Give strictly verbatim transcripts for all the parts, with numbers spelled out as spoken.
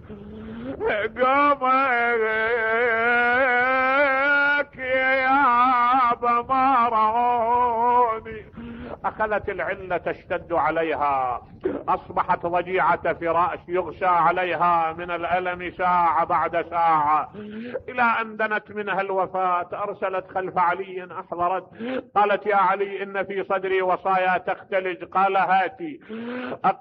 قومك يا ما رعوني. اخذت العلة تشتد عليها، اصبحت ضجيعة فراش يغشى عليها من الالم ساعة بعد ساعة، الى ان دنت منها الوفاة. ارسلت خلف علي احضرت، قالت يا علي ان في صدري وصايا تختلج. قال هاتي.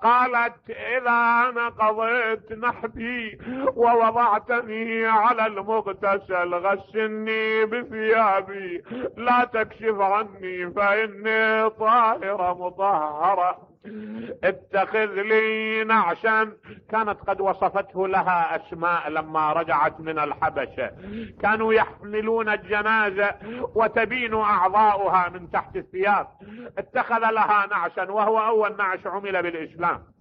قالت اذا انا قضيت نحبي ووضعتني على المغتسل غسلني بثيابي، لا تكشف عني فاني طاهرة مطهرة. اتخذ لي نعشا. كانت قد وصفته لها اسماء لما رجعت من الحبشة، كانوا يحملون الجنازة وتبين اعضاؤها من تحت الثياب. اتخذ لها نعشا وهو اول نعش عمل بالاسلام.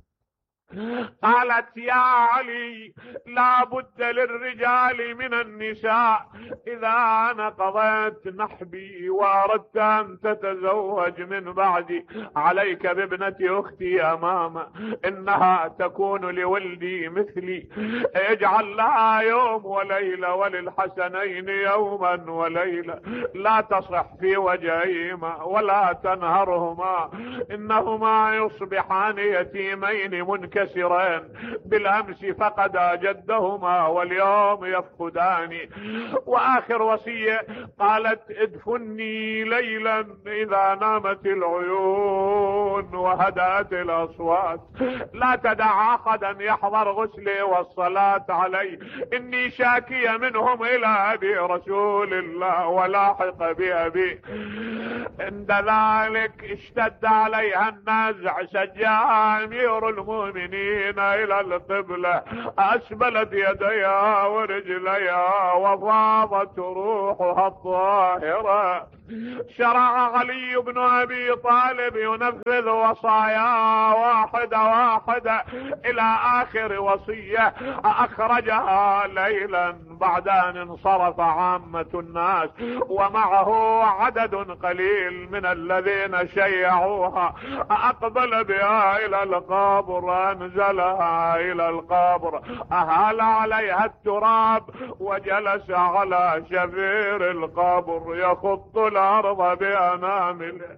قالت يا علي لا بد للرجال من النساء، اذا انا قضيت نحبي واردت ان تتزوج من بعدي عليك بابنة اختي امامه، انها تكون لولدي مثلي، اجعل لها يوم وليلة وللحسنين يوما وليلة، لا تصح في وجهيهما ولا تنهرهما، انهما يصبحان يتيمين منكسرين بالامس فقدا جدهما واليوم يفقدان. واخر وصية قالت ادفني ليلا اذا نامت العيون وهدأت الاصوات، لا تدع احدا يحضر غسلي والصلاة علي، اني شاكية منهم الى ابي رسول الله ولاحق بابي. عند ذلك اشتد عليها النزع، سجاها امير المؤمنين الى القبلة، اسبلت يديها ورجليها وفاضت روحها الطاهرة. شرع علي بن ابي طالب ينفذ وصايا واحدة واحدة الى اخر وصية اخرجها ليلا بعد ان انصرف عامة الناس ومعه عدد قليل من الذين شيعوها. اقبل بها الى القبر، انزلها الى القبر، اهال عليها التراب وجلس على شفير القبر يخط الارض بانامله.